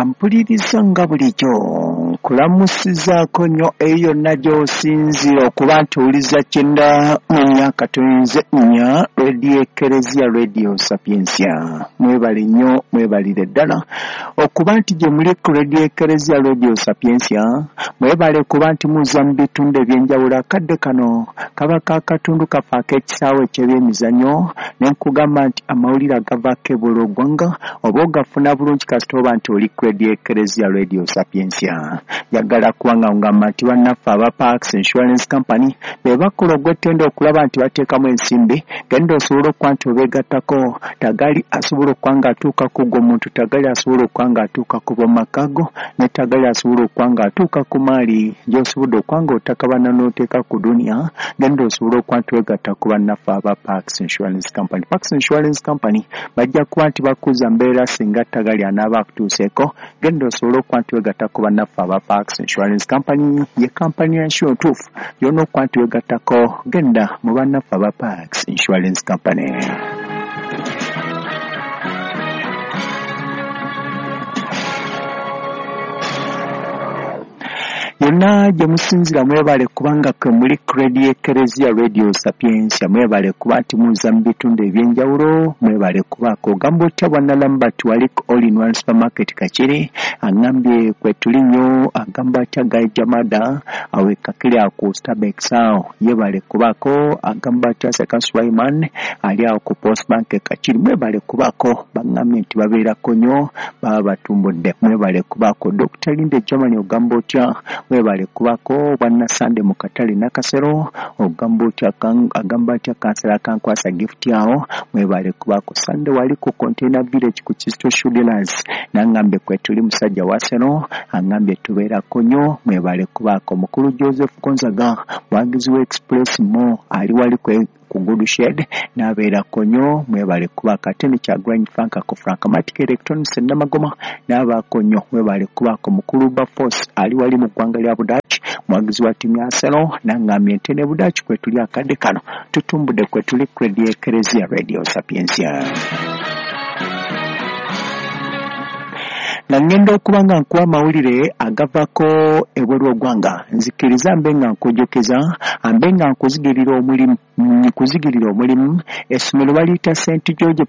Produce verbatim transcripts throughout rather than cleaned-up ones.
Ampuliriza nga bulijjo nkulamusizaako nnyo eyo yonna gy'osinziira okuba nti owuliza kyenda mu myaka tuyinze nnya Radio Ekereziya Radio Sapientia. Mwebale nnyo, mwebalire ddala okuba nti gye muli ku Radio Ekereziya Radio Sapientia. Mwebale kuba nti muza mu bitundu eby'enjawulo. Akadde kano kaba ka katundu kaffe ak'ekisaawe eky'ebyemizannyo, ne nkugamba nti amawulire agavaako ebweru w'eggwanga oba ogafuna bulungi kasita oba nti oli ku Radio Ekereziya Radio Sapientia. Njagala kuba nga ngamba nti bannaffe aba Parks Insurance Company be bakola ogw'ettendo okulaba nti bateekamu ensimbi. Genda osobola okuba nti obeegattako. Tagali asobola okuba nga atuuka ku gwo muntu, tagali asobola okuba nga atuuka ku b'omaka go, ne tagali asobola okuba nga atuuka ku maali gy'osobodde okuba nga otakabana n'oteeka ku duniya. Genda osobola okuba nti weegatta ku bannaffe aba Parks Insurance Company. Parks Insurance Company bajja kuba nti bakuza mbeera singa tagali anaaba akutuuseeko. Genda osobola okuba nti weegatta ku bannaffe aba Parks Insurance Company, ye kampani ya nsi entuufu yonna okuba nti weegattako. Genda mu bannaffe aba Parks Insurance Company. Yonna gye musinzira mwebale kubanga kwe muli ku Radio Ekereziya Radio Sapientia. Mwebale kuba nti muza mu bitundu ebyenjawulo, mwebale kubaako. Ogamba otya bwana Lambert wali ku All in One Supermarket Kakiri, agambye kwe tuli nnyo. Agamba atya Guy Jamada awe Kakiri ako Starbucks awo, yebale kubaako. Agamba atya Seka Sulaiman ali awo ku Post Bank Kakiri, mwebale kubaako. Baŋŋambye nti babeerako nnyo, baba batumbudde, mwebale kubaako. Doctor Linde Germany ogamba otya, mwebale kubaako. Bwana Sande mu katale Nakasero ogamba otya, agamba atya kansala Kankwasa gift awo, mwebale kubaako. Sande wali ku Container Village ku Kisto Shoe Dealers, nangambye kwe tuli musajja wa Seno, angambye tubeerako nnyo, mwebale kubaako. Mukulu Joseph Gonzaga mwagizi wa Express Mo ali wali kwe ku Good Shed n'abeerako nnyo, mwebale kubaako. Ate ne Kyagulanyi Frank ku Frankmatic Electronics Namagoma n'abaako nnyo, mwebale kubaako. Mukulu Baforce ali wali mu ggwanga lya Budaaki mwagizi wa ttiimu ya Arsenal, nangambye nti ne Budaaki kwe tuli akadde kano tutumbudde kwe tuli ku Radio Ekereziya Radio Sapientia. Nga ngenda okuba nga nkuwa amawulire agavaako ebweru w'eggwanga, nzikiriza mbe nga nkujjukiza, mbe nga nkuzigirira omulimu nkuzigirira omulimu. Essomero baliyita Saint George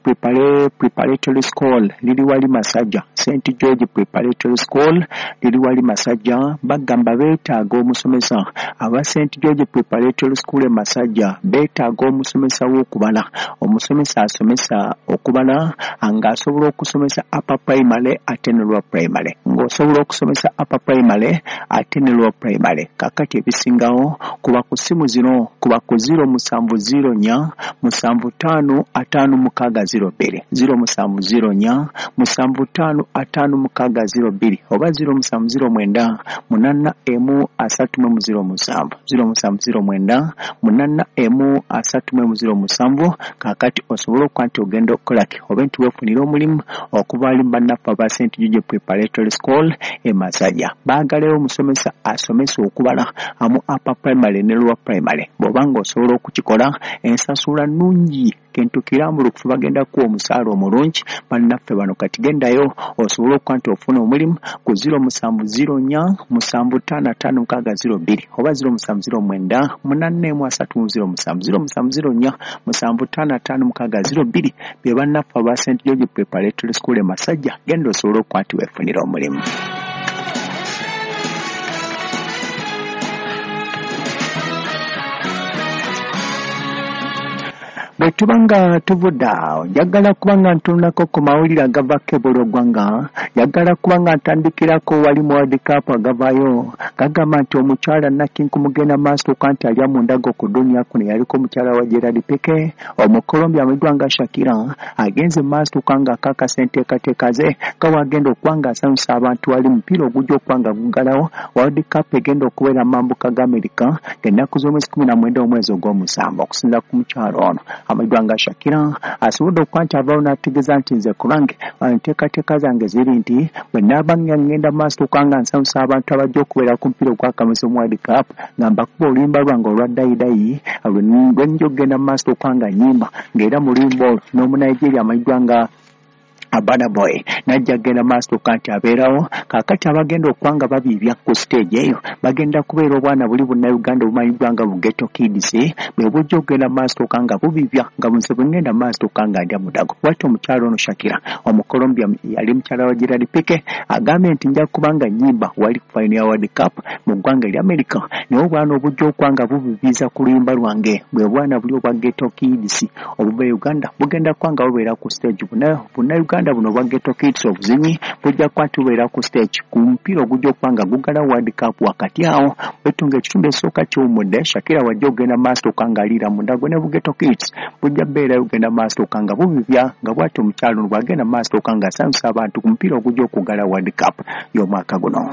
Preparatory School, liri wali Masajja. Saint George Preparatory School liri wali Masajja. Bagamba beetaaga omusomesa. Aba Saint George Preparatory School e Masajja beetaaga omusomesa w'okubala, omusomesa asomesa okubala ng'asobola okusomesa upper primary ate ne lower primary, ng'osobola okusomesa upper primary ate ne lower primary. Kakati ebisingawo kuba ku ssimu zino, kuba ku zero musanvu zero nnya musanvu ttaano ataano mukaaga zero bbiri, zero musanvu zero nnya musanvu ttaano ataano mukaaga zero bbiri, oba zero musanvu zero mwenda munana emu asatu mu zero musanvu, zero musanvu zero mwenda munana emu asatu mu zero musanvu. Kakati osobola okuba nti ogenda okukolaki oba nti weefunira omulimu okuva ali bannaffe aba Saint George Preparatory School e Masajja. Baagalayo omusomesa asomesa okubala amu upper primary ne lower primary. Bw'oba ng'osobola okukikola, ensasula nnungi, kintu kirambulukufu, bagenda kuwa omusaala omulungi bannaffe bano. Kati gendayo osobola okuba nti ofuna omulimu ku zero musanvu zero nnya musanvu ttaano ataano mukaaga zero bbiri, oba zero musanvu zero mwenda munaana emu asatu mu zero musanvu, zero musanvu zero nnya musanvu ttaano ataano mukaaga zero bbiri. Be bannaffe aba Saint George Preparatory School e Masajja. Genda osobola okuba nti weefunira omulimu. Bwe tuba nga tuvudde awo, njagala kuba nga ntunulako ku mawulire agavaako ebweru w'eggwanga. Njagala kuba nga ntandikirako wali mu World Cup agavaayo gagamba nti omukyala Nakinku mugenda maaso okuba nti alya mu ndago ku duniya kuno, yaliko omukyala wa Gerard Piqué Omukolombia amanyiddwa nga Shakira, agenze mu maaso okuba nga akakasa enteekateeka ze nga bw'agenda okuba nga asanyusa abantu wali mupiira ogujja okuba nga guggalawo World Cup egenda okubeera mu mambuka ga Amerika ng'ennaku z'omwezi kumi na mwenda omwezi ogw'omusanvu. Okusinziira ku mukyala ono amanyiddwa nga Shakira, asobodde okuba nti avaawo n'ategeeza nti nze ku lwange enteekateeka zange ziri nti bwe naaba nga ngenda mu maaso okuba nga nsanyusa abantu abajja okubeera ku mupiira ogw'akamisa mu World Cup, nga mbakuba oluyimba lwange olwa dayidayi lwe nja okugenda mu maaso okuba nga nnyimba, ng'era mu luyimba olwo n'Omunigeria amanyiddwa nga Burna Boy najja genda maaso kanti abeerawo. Kaakati abagenda okwanga babiibya ku stage eyo bagenda kubeera obwana buli Bannayuganda obumanyiddwa nga bu Ghetto Kids, bwe bujja okugenda maaso nga bubibya nga bunze bwengenda maaso nga ndya mudago. Bw'atyo omukyala ono Shakira Omukolombia yali mukyala wa Gerard Pique agambye nti nja kuba nga nnyimba wali ku final ya World Cup mu ggwanga erya America, naye obwana obujja okwanga bubibiza ku luyimba lwange bwe bwana buli obwa Ghetto Kids obuva e Uganda bugenda kwanga bubeera ku stage. Bannayuganda buno obwa Ghetto Kids obuzinyi bujja kuba nti bubeera ku stage ku mupiira ogujja okuba nga gugala World Cup. Wakati awo wetunga ekitundu ekisooka kiwummudde, Shakira wajja okugenda maaso nga aliira mu ndago ne bu Ghetto Kids bujja bbeerayo okugenda maaso nga bubibya nga bw'atyo omukyala ono bw'agenda maaso nga asanyusa abantu ku mupiira ogujja okugala World Cup y'omwaka guno.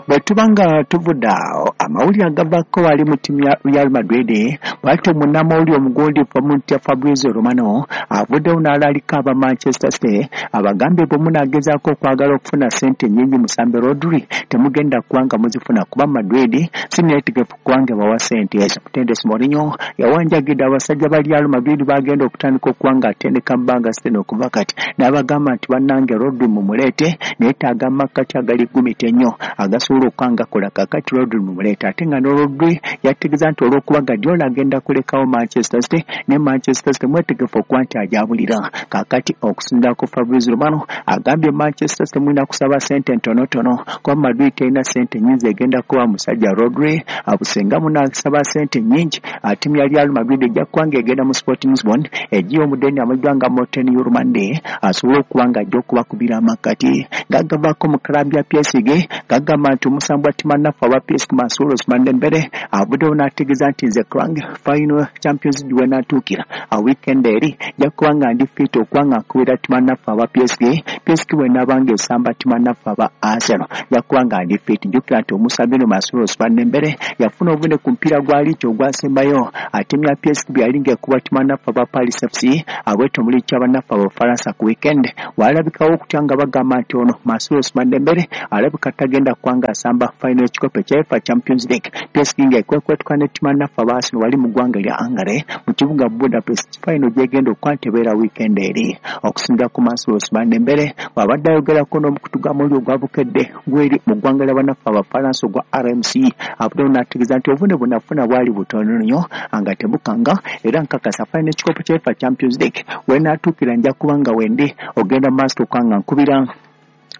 Bwe tuba nga tuvudde awo, amawulire agavaako wali mu ttiimu ya Real Madrid, bw'atyo munnamawulire omugundifu Mutya Fabrizio Romano avuddewo n'alaalika aba Manchester City abagambye bwe munaagezaako okwagala okufuna ssente nnyingi musambe Rodri temugenda kubanga muzifuna kuba Madrid si neetegefu kubanga bawa ssente ezo. Mutendesi Mourinho yawanjagidde abasajja ba Real Madrid bagenda okutandika okuba nga atendeka bbanga City okuva kati n'abagamba nti bannange Rodri mumuleete, neetaaga amakkati agali gumita ennyo agasobola okukanga kola. Kaakati Rodri mumuleete, ate nga ne Rodri yategeeza nti olw'okuba Guardiola agenda kulekawo Manchester City ne Manchester City mwetegefu okuba nti ajabulira. Kaakati okusinziira ku Fabrizio Romano agambye Manchester City mulina kusaba ssente ntonotono kuba Madrid terina ssente nnyingi egenda kuba musajja Rodri abusenga munaasaba ssente nnyingi ttiimu ya Real Madrid ejja kuba ng'egenda mu Sporting Lisbon egiye omudeni amanyiddwa nga Morten Hjulmand asobole okuba nga ajja okubakubira amakkati. Gagavaako mu club ya P S G gagamba nti omusambi wa ttiimu naffe aba P S G Mansour Ousmane Dembele avuddewo n'ategeeza nti nze kwange final Champions League wenaatuukira a weekend eri nja kuba nga ndi fit okuba nga nkubira ttiimu naffe aba P S G. P S G bw'enaaba ng'esamba ttiimu naffe aba Arsenal nja kuba nga ndi fit. Jjukira nti omusambi ono Mansour Ousmane Dembele yafuna obuvune ku mupiira gwa liigi ogwasembayo ttiimu ya P S G bwe yali ng'ekuba ttiimu naffe aba Paris F C abwetyo mu liigi y'abannaffe Abafalansa ku weekend walabikawo okutya nga bagamba nti ono Mansour Ousmane Dembele alabika tagenda kuba ng'asamba final ekikopo ekya UEFA Champions League. P S G ng'ekwekwetuka ne ttiimu naffe aba Arsenal wali mu ggwanga erya Hungary mu kibuga Budapest final gy'egenda okuba nti ebeera weekend eri. Okusinziira ku Mansour Ousmane Dembele bw'abadde ayogerako n'omukutu gw'amawulire ogwabukedde gweri mu ggwanga ly'abannaffe Abafalansa ogwa R M C avuddewo n'ategeeza nti obuvune bwe nafuna bwali butono nnyo nga tebukanga era nkakasa final ekikopo kya UEFA Champions League wenaatuukira nja kuba nga wendi ogenda maaso okuba nga nkubira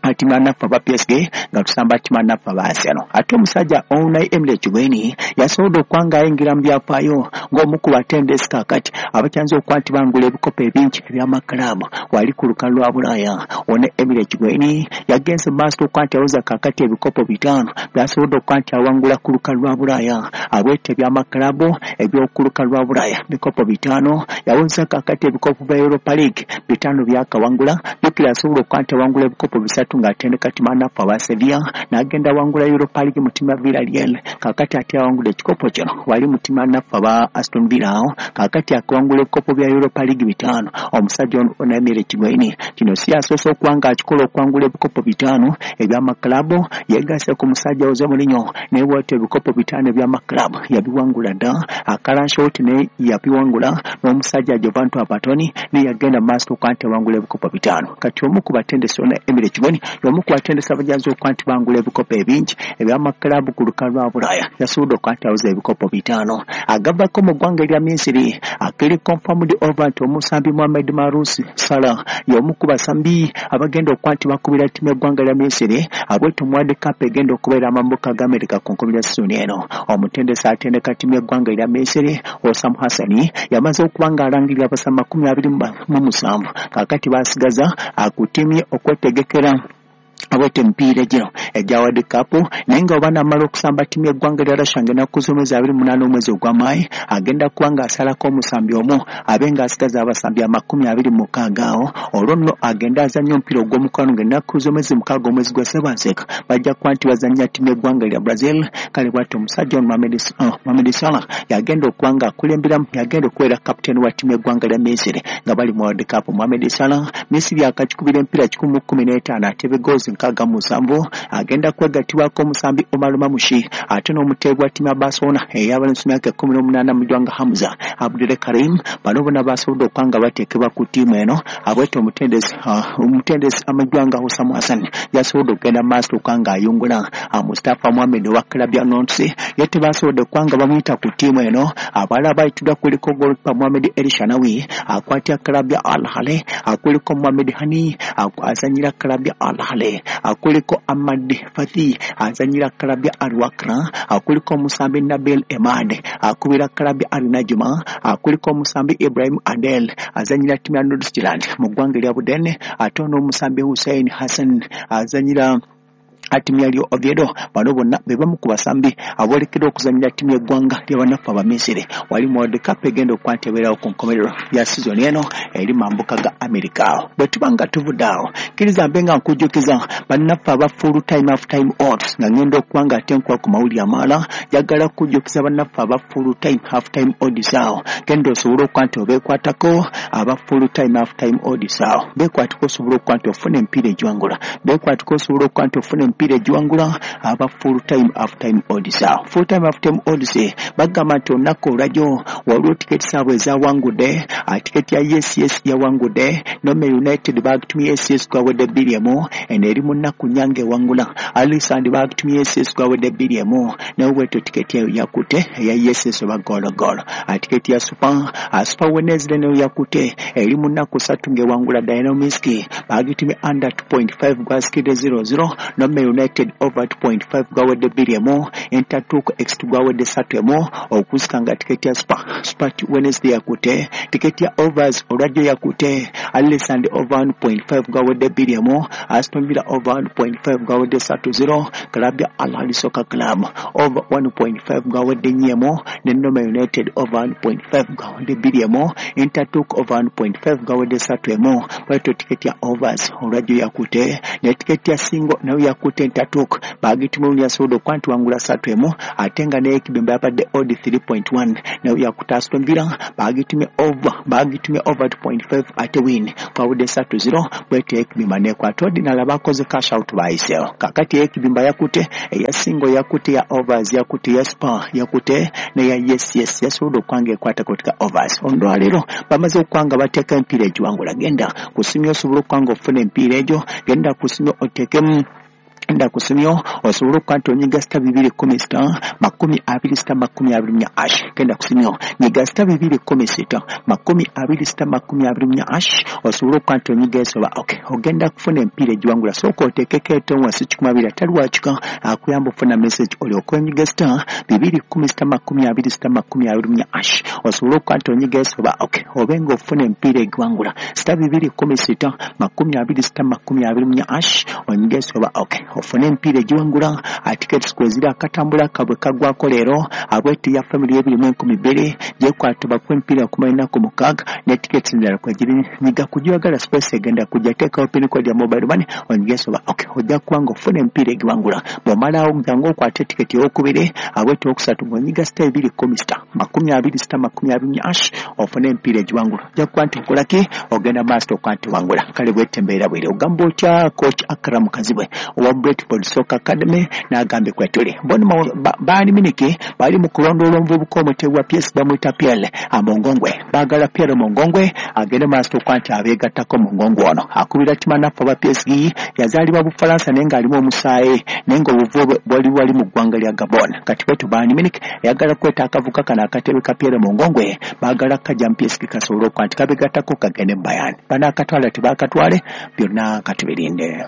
ttiimu naffe aba P S G nga tusamba ttiimu naffe aba Arsenal. Ate omusajja Unai Emery Chigweni yasobodde okuba nga ayingira mu byafaayo ng'omu ku batendesi kaakati abakyanze okuba nti bangula ebikopo ebingi eby'amakulaabu wali ku lukalu lwa Bulaaya. Unai Emery Chigweni yagenze mu maaso okuba nti awoza kaakati ebikopo bitaano by'asobodde okuba nti awangula ku lukalu lwa Bulaaya abwete eby'amakulaabu eby'oku lukalu lwa Bulaaya bikopo bitaano yawoza kaakati ebikopo bya Europa League bitaano byakawangula. Jjukira asobola okuba nti awangula ebikopo bisatu ng'atendeka ttiimu naffe aba Sevilla n'agenda awangula Europa League mu ttiimu ya Villarreal. Kaakati ate awangula ekikopo kino wali mu ttiimu naffe aba Aston Villa awo kaakati akawangula ebikopo bya Europa League bitaano omusajja ono Unai Emery Chigweni kino si asoose okuba ng'akikola okuwangula ebikopo bitaano eby'amakulaabu. Yeegasse ku musajja Jose Mourinho naye bw'atyo ebikopo bitaano eby'amakulaabu yabiwangula dda. Akalanshoti naye yabiwangula n'omusajja Giovanni Trapattoni naye yagenda mu maaso okuba nti awangula ebikopo bitaano. Kati omu ku batendesi Unai Emery Chigweni y'omu ku batendesi abajazi okuba nti bangula ebikopo ebingi eby'amakulaabu ku lukalu lwa Bulaaya yasobodde okuba nti awoza ebikopo bitaano. Agavako mu ggwanga erya Misiri akiri confirmed over nti omusambi Mohamed Marous Salah y'omu ku basambi abagenda okuba nti bakubira ttiimu y'eggwanga lya Misiri abwetyo mu World Cup egenda okubeera amambuka ga Amerika ku nkomerero ya sizoni eno. Omutendesi atendeka ttiimu y'eggwanga erya Misiri Osam Hassan yamaze okuba ng'alangirira abasambi makumi abiri mu musanvu kaakati basigaza ku ttiimu ye okwetegekera abwete emipiira gino egya World Cup, naye nga oba namala okusamba ttiimu y'eggwanga lya Russia ng'ennaku z'omwezi abiri munaana omwezi ogw'Amaayi agenda kuba ng'asalako omusambi omu abe ng'asigaza abasambi amakumi abiri mu mukaaga awo olwo nno agenda azannya omupiira ogw'omukwano ng'ennaku z'omwezi mukaaga omwezi gwa Ssebanseeka bajja kuba nti bazannya ttiimu y'eggwanga lya Brazil. Kale bw'atyo omusajja ono Mohamed Salah yagenda okuba ng'akulemberamu yagenda okubeera kapiteeni wa ttiimu y'eggwanga lya Misiri nga bali mu World Cup. Mohamed Salah Misiri akakikubira emipiira kikumi mu kkumi n'etaano atebe goals nkaaga mu musanvu agenda kwegattibwako omusambi Omar Mamushi ate n'omuteebi wa ttiimu ya Barcelona ey'abalenzi myaka ekkumi n'omunaana mu ggwanga Hamza Abdul Karim. Bano bonna basobodde okuba nga bateekebwa ku ttiimu eno. Abwete omutendesi omutendesi amajwanga Hussam Hassan yasobodde okugenda maaso okuba nga ayungula Mustafa Mohamed owa club ya Nantes, ye tebasobodde okuba nga bamuyita ku ttiimu eno. Abalala bayitiddwa kuliko goalkeeper Mohamed El Shanawi akwatira club ya Al Ahly, akuliko Mohamed Hani azanyira club ya Al Ahly, akuliko Ahmad Fathi azanyira club ya Al Wakra, akuliko Musambi Nabil Emad akubira club ya Al Najma, akuliko Musambi Ibrahim Adel azanyira ttiimu ya Nordsjælland mu ggwanga erya Budene, ate n'omusambi Hussein Hassan azanyira ttiimu ya Real Oviedo. Bano bonna be bamu ku basambi aboolekedde okuzannyira ttiimu y'eggwanga ly'abannaffe Abamisiri wali mu World Cup egenda okuba nti ebeerawo ku nkomerero ya sizoni eno eri mambuka ga Amerika. Bwe tuba nga tuvudde awo, kkiriza mbe nga nkujjukiza bannaffe aba full time half time odds nga ngenda okuba nga ate nkuwa ku mawulire amalala. Njagala kujjukiza bannaffe aba full time half time odds awo, genda osobole okuba nti obeekwatako aba full time half time odds awo, beekwatako osobole okuba nti ofuna emipiira egiwangula, beekwatako osobole okuba nti ofuna emipiira egiwangula aba full time half time odds awo. Full time half time odds bagamba nti olunaku olwajjo waliwo tiketi zaabwe ezawangudde. Tiketi ya yes yes yawangudde, Nome United bagitumye yes yes gwawedde bbiri emu, eno eri mu nnaku nnya ng'ewangula. Alisand bagitumye yes yes gwawedde bbiri emu, naye bwetyo tiketi eyo yakutte eya yes yes oba goolo goolo. Tiketi ya super super Wednesday nayo yakutte, eri mu nnaku ssatu ng'ewangula. Dynamisk bagitumye under two point five gwasikidde zero zero, Nome United over two point five gwawedde bbiri emu, Intertook X gwawedde ssatu emu okusika nga tiketi ya super super Wednesday yakutte. Tiketi ya overs olwajjo yakutte, Alisand over one point five gwawedde bbiri emu, Aston Villa over one point five gwawedde ssatu zero, club ya Al Ahly Soccer Club over one point five gwawedde nnya emu, ne Nome United over one point five gwawedde bbiri emu, Intertook over one point five gwawedde ssatu emu. Bwetyo tiketi ya overs olwajjo yakutte, ne tiketi ya single nayo yakutte. Intertook bagitumye yasobodde okuba nti wangula ssatu emu, ate nga n'ekibimba yabadde odd three point one nayo yakutte. Aston Villa bagitumye over bagitumye over two point five ate win kwawudde ssatu zero, bwetyo ekibimba nekwata. Ordinary bakoze cash out bayiseewo. Kakati ekibimba yakutte, eya single yakutte, ya overs yakutte, ya super yakutte, neya yes yes yasobodde okuba nga ekwata kutika overs. Olwaleero bamaze okuba nga bateeka emipiira egiwangula. Genda kusimya osobole okuba nga ofuna emipiira egyo, genda kusimya oteekemu, genda kusimyo osobole okuba nti onyiga star bibiri kumi sita makumi abiri sita makumi abiri mu hash. Genda kusimyo, nyiga star bibiri kumi sita makumi abiri sita makumi abiri mu hash osobole okuba nti onyiga esoba. Okay, ogenda kufuna emipiira egiwangula. Sooka oteekeko etono wansi kikumi abiri atali wakika akuyamba ofuna message, olyoke onyiga star bibiri kumi sita makumi abiri sita makumi abiri mu hash osobole okuba nti onyiga esoba. Okay, obe nga ofuna emipiira egiwangula, star bibiri kumi sita makumi abiri sita makumi abiri mu hash, onyiga esoba. Okay, ofune emipiira egiwangula. Tickets kweziri, akatambula kabwe kagwako leero abwetu ya family ebiri mu enkumi bbiri gyekwatibwa ku emipiira kumala ennaku mukaaga ne tickets endala kwegiri. Nyiga kugyagala space egenda kujja, teekawo pin code ya mobile money onyige soba. Okay, ojja kuba nga ofuna emipiira egiwangula. Bw'omalawo jangu okwate tiketi eyokubiri abwetu okusatu ng'onyiga star ebiri kumi sita makumi abiri sita makumi abiri hash ofune emipiira egiwangula. Ojja kuba nti okola ki? Ogenda maaso okuba nti wangula. Kale bwete embeera bwere. Ogamba otya coach Akram Kazibwe owa Brentford Soccer Academy n'agambye kwetuli bona baali miniki bali mu kulondoola omuvubuka omutebi wa P S bamuyita Pierre Mongongwe. Baagala Pierre Mongongwe agende maaso okuba nti abeegattako. Mongongwe ono akubira timanaffe aba P S G, yazaalibwa Bufalansa naye ng'alimu omusaayi naye ng'obuvu bwe bwali wali mu ggwanga lya Gabon. Kati bwetu Bayern Munich eyagala kweta akavuka kano akatebe ka Pierre Mongongwe, baagala kajja mu P S G kasobole okuba nti kabeegattako kagende mu Bayern. Banaakatwala tebaakatwale, byonna katubirinde.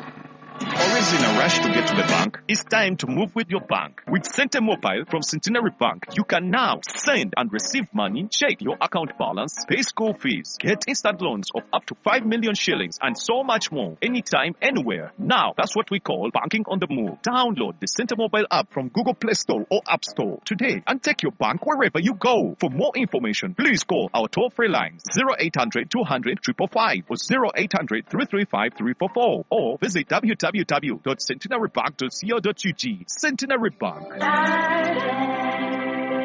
Always in a rush to get to the bank? It's time to move with your bank. With Sente Mobile from Centenary Bank, you can now send and receive money, check your account balance, pay school fees, get instant loans of up to five million shillings, and so much more. Anytime, anywhere. Now, that's what we call banking on the move. Download the Sente Mobile app from Google Play Store or App Store today and take your bank wherever you go. For more information, please call our toll-free lines zero eight hundred two hundred five five five or zero eight hundred three three five three four four or visit w w w dot centenarybank dot co dot u g. Centenary Bank.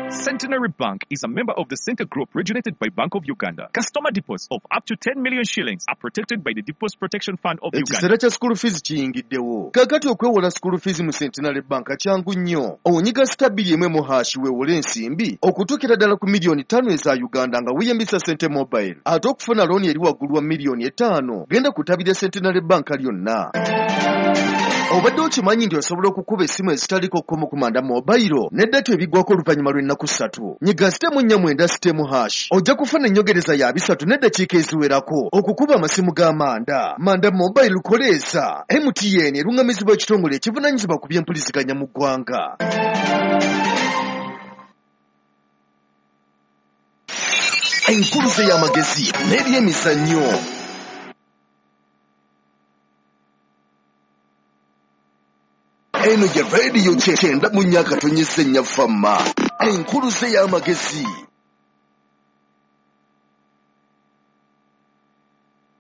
Centenary Bank is a member of the Center Group regulated by Bank of Uganda. Customer deposits of up to ten million shillings are protected by the Deposit Protection Fund of Uganda. Ekiseera kya school fees kiyingiddewo. Kaakati okwewola school fees mu Centenary Bank kyangu nnyo. Onyiga star bbiri emu emu hash weewole ensimbi okutuukira ddala ku miliyoni ttaano eza Uganda nga weeyambisa Sente Mobile. Ate okufuna looni eri waggulu wa miliyoni etaano genda ku ttabi lya Centenary Bank lyonna. Obadde okimanyi nti osobola okukuba essimu ezitaliko kkomo ku Manda Mobile ne data ebiggwako oluvannyuma lw'ennaku ssatu. Nyiga star emu nnya mwenda star emu hash ojja kufuna ennyongereza ya bisatu n'eddakiika eziwerako okukuba amasimu ga Manda. Manda Mobile koleeza. M T N eruŋŋamizibwa ekitongole ekivunaanyizibwa ku by'empuliziganya mu ggwanga. Enkuluze y'amagezi n'ebyemizannyo. Eno ye radio kyenda mu nnya akatonyeze nnya Fama. Enkuluze y'amagezi.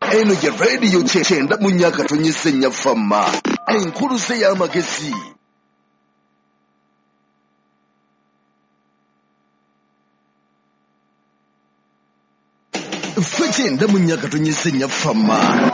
Eno ye radio kyenda mu nnya akatonyeze nnya Fama. Enkuluze y'amagezi. Ffe kyenda mu nnya akatonyeze nnya Fama.